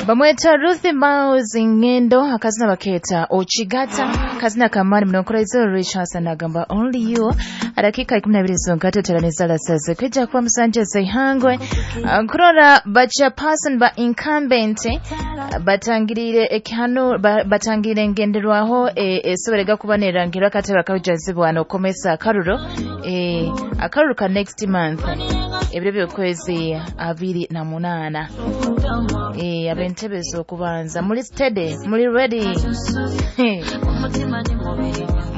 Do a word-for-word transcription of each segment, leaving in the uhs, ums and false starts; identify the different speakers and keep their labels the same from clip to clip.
Speaker 1: Bamweta Ruth Miles Ngendo, akazina baketa Ochigata, kazina kamani mnonkoraizo. Richardson agamba "Only You". Dakika ikumi na ibiri zonka tuteraniza lasaze kwijja kuba musanje zeihangwe nkurora bacha person ba incumbent batangirire ekihano ba- batangirire engenderwaho esoborega kuba nerangirwa akatebe akajazibwa nokomesa akaruro e, akaruro ka next month, ebiro by'okwezi abiri na munaana. e, ab'entebe z'okubanza muli steady, muli ready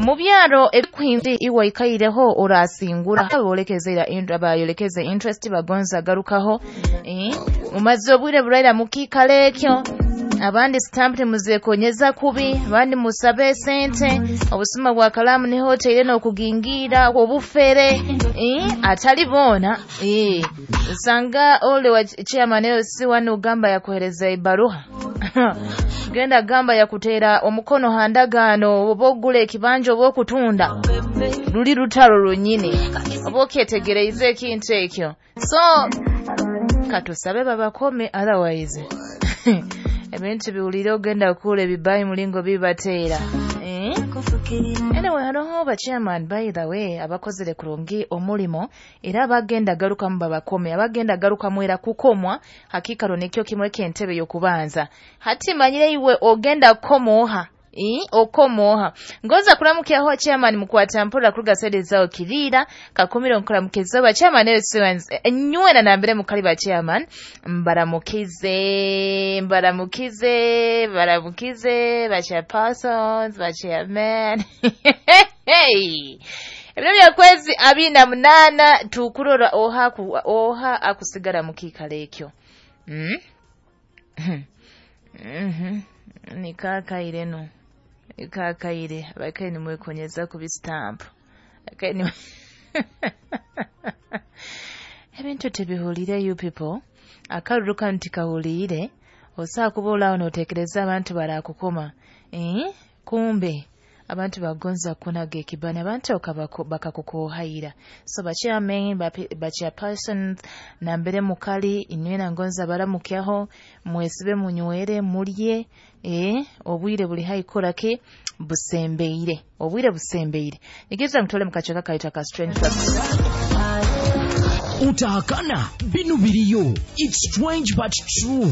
Speaker 1: mu byaro ebikuhinzi iwe ikaireho orasingura bolekeze ira bayolekeze interest bagonza garukaho eh, mumaze obwire buraira mukikalo ekyo. Abandi stamp temuzekonyeza kubi, abandi musabe sente, obusuma bwa kalamu niho oteire n'okugingira obufere eh, atali boona eh, sanga ole wa chairman L C one ugamba yakuhereza ebaruha, genda gamba yakuteera omukono handagaano oba ogula ekibanja oba okutunda, luli lutalo lwennyini oba okyetegereize ekintu ekyo. So katusabe babakome, otherwise ebintu biwulire ogenda kuula ebibayi mulingo bibateera, eh? Anyway, hariho ba chairman, by the way, abakozere kurungi omulimo era abagenda garukamu babakome, abagenda garukamu era kukomwa hakikaro nikyo kimwe ky'entebe y'okubanza. Hati manyire iwe ogenda kukomooha. I, okomooha ngoza kuramukyaho chairman mukwata mpora kuruga side zao kirira kakumiro nkuramukiza ba chairman nywena nambere mukali ba chairman, mbaramukize, mbaramukize, baramukize ba chairpersons, ba chairman. Hey, ebiro byakwezi abiri na munaana tukurora oha ku, oha akusigara mu kiikaro ekyo mm? mm nikakaire no nikakaire abakaire nimwekonyeza ku bistamp Abakaire ni ebintu tebihulire. You people, akaruru kanu tikahuliire. Osobola kuba olaawo notekereza abantu barakukoma eh? Kumbe abantu bagonza kunaga ekibani, abantu bakakukohaira. So ba chairman, ba chairpersons nambere mukali inywena ngonza baramukyaho, mwesibe, munywere, mulye eh, obwire buli haikora ki busembeire, obwire busembeire. Nigeza mutole mukachaka kaita ka Strange Facts.
Speaker 2: Utahakana binu biriyo. It's strange but true.